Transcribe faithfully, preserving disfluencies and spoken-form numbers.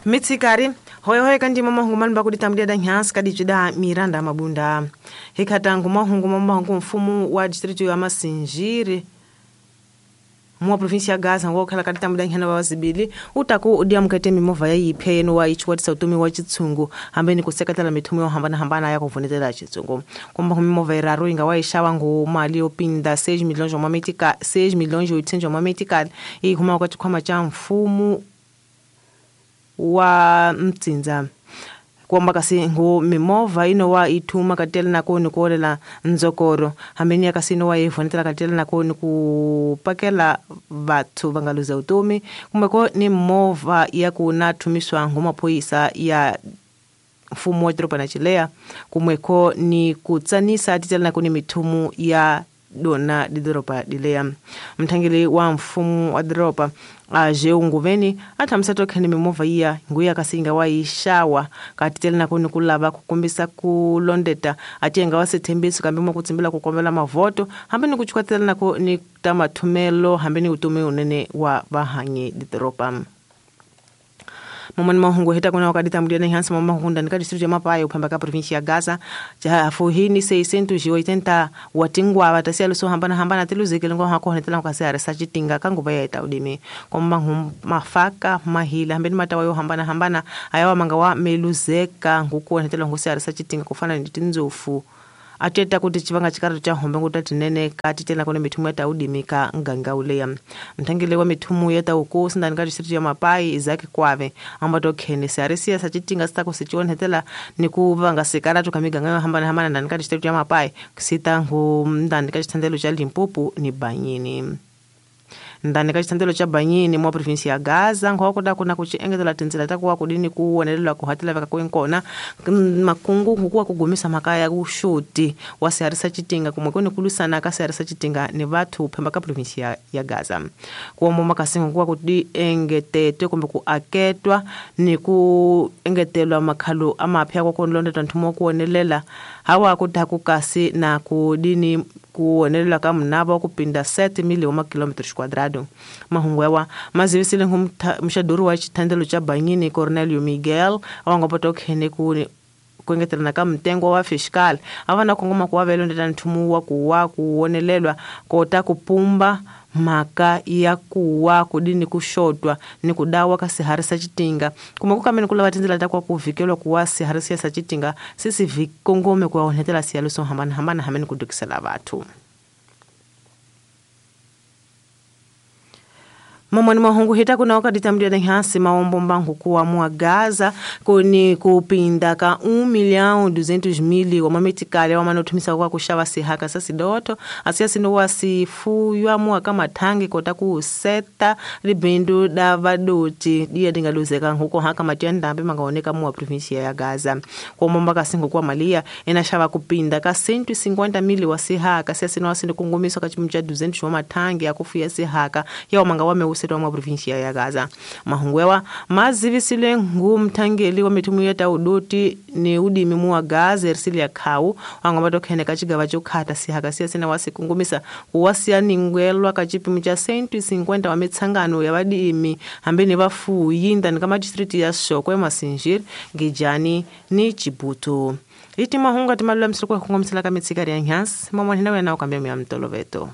Mitsikari hoyo kandi mama hungu manu bakudi tamdia da nyansi kadi juda Miranda Mabunda hikatangu mahungu mama hungu mfumu wa distrito ya Masinjiri mwa provinsia ya Gaza ngo khala kadi tamdia nyana wazibili utaku udia mkete mimova ya ipya yenu wa ichwatisa utumi wa chitsungu hambeni kusekatela mithumu yo hambana hambana ya kuvonetela chitsungu komba mimova iraru inga wa ishawa ngo mali opinda seis milhões de metica seis milhões e oitocentos de metica e kuma kwa chikhwama cha mfumu wa mtsinza kwamba kasi ngo mimova ino wa ithuma katela nako ni kuolela nzokoro hambeni ya kasi ino wa ivonetela katela nako ni kupakela vathu vangaluza utomi kumbe ni mova ya kuna thumiswa ngo maphoyisa ya mfumo wa doroba na chilea kumweko ni kutsanisa titela nako ni mithumu ya dona didoroba dilea mthangeli wa mfumo wa doroba aje unguveni athamisa tokhene mimova iya nguya kasinga wa ishawa katitela nako ni kulava kukumbisa kulondeta atienga wasethembiso kambe mwa kutsimbila kukombela mavoto hambe ni kuchukatela nako ni tamathumelo hambe ni utumi unene wa vahanyi didoroba. Momoni mahungu hita kuna wakati tambulia na hansa mama hunda nika distrito ya Mapai upamba ka província ya Gaza ja fuhini seiscentos e oitenta watingwa batasia luso hambana hambana tiluzekele ngo hako honetela ngase aresa chitinga kanguba ya itaudimi komba mafaka mahila hambeni matawa yo hambana hambana ayawa manga wa meluzeka nguko honetela ngose aresa chitinga kufana ndi tinzofu ateta kuti chivanga chikarato cha hombe nguta tinene katitela kone mithumu ya taudimika nganga uleya mthangele wa mithumu ya taukosi ndani ka distrito ya Mapai Isaac Kwave ambato khene siarisia sachitinga sitako sichionhetela ni kuvanga sikarato kamiganga yo hambana hambana ndani ka distrito ya Mapai kusita ngu ndani ka chithandelo cha Limpopo ni Banyini ndani ka chithandelo cha Banyini mwa provinsia ya Gaza nkhokoda kuna kuchiengetela tinzila takuwa kudini kuwonelela kuhatela veka kwenkona makungu nkukuwa kugumisa makaya kushuti wa siarisa chitinga kumwe kuni kulusana ka siarisa chitinga ni vathu phemba ka provinsia ya Gaza kuomba makasingo nkuwa kuti engetetwe kumbe ku aketwa ni ku engetelwa makhalo amapya kwakonlondetwa nthumo kuwonelela hawa kutaku kasi na kudini kuonelela ka munava kupinda sete mil uma quilômetros quadrados. Mahungu yawa mazivisile mxaduri wa chithandelo cha Banyini Cornelio Miguel awangopoto khene ku kuengetelana ka mtengo wa fiscal avana kongoma kuwa ndeta nthumu wa kuwa kuonelelwa kota kupumba maka ya kuwa kudini kushotwa ni kudawa ka siharisa chitinga kuma kukamene kulava tindzela ta kwa kuvikelwa kuwa siharisa sa chitinga sisi vikongome kwa onetela siyaluso hambana hambana hamene kudukisela vathu. Mamoni mahungu hita kuna wakati tamdia na hasi maombo mbangu kuwa mwa Gaza kuni kupinda ka um milhão duzentos mil wa mametikale wa manotumisa kwa kushawa sihaka sasi doto asia sino wasifuywa mwa kama tangi kota kuseta libindu da vadoti dia dingaluzeka huko haka matenda ambe mangaoneka mwa província ya Gaza kwa momba kasingo kwa malia inashava kupinda ka cento e cinquenta mil wa sihaka asia sino wasino kungumiswa ka chimu cha duzentos wa matangi ya kufuya sihaka ya manga wame usetwa mwa província ya Gaza. Mahungwewa mazivisile ngu mthangeli wa mithumu ya taudoti ni udimi mwa Gaza Ersilia Khau wangomato khene ka chigava chokhata sihaka siya sina wasikungumisa kuwasiya ningwelwa ka chipimo cha cento e cinquenta wa mitsangano ya vadimi hambeni vafuyi ndani ka madistrict ya Shokwe, Masinjiri, Ngejani ni Chibuto. Iti mahunga timalula msirikwa kungomisela ka mitsikari ya nyansi mamwanhina wena ukambia mya mtoloveto.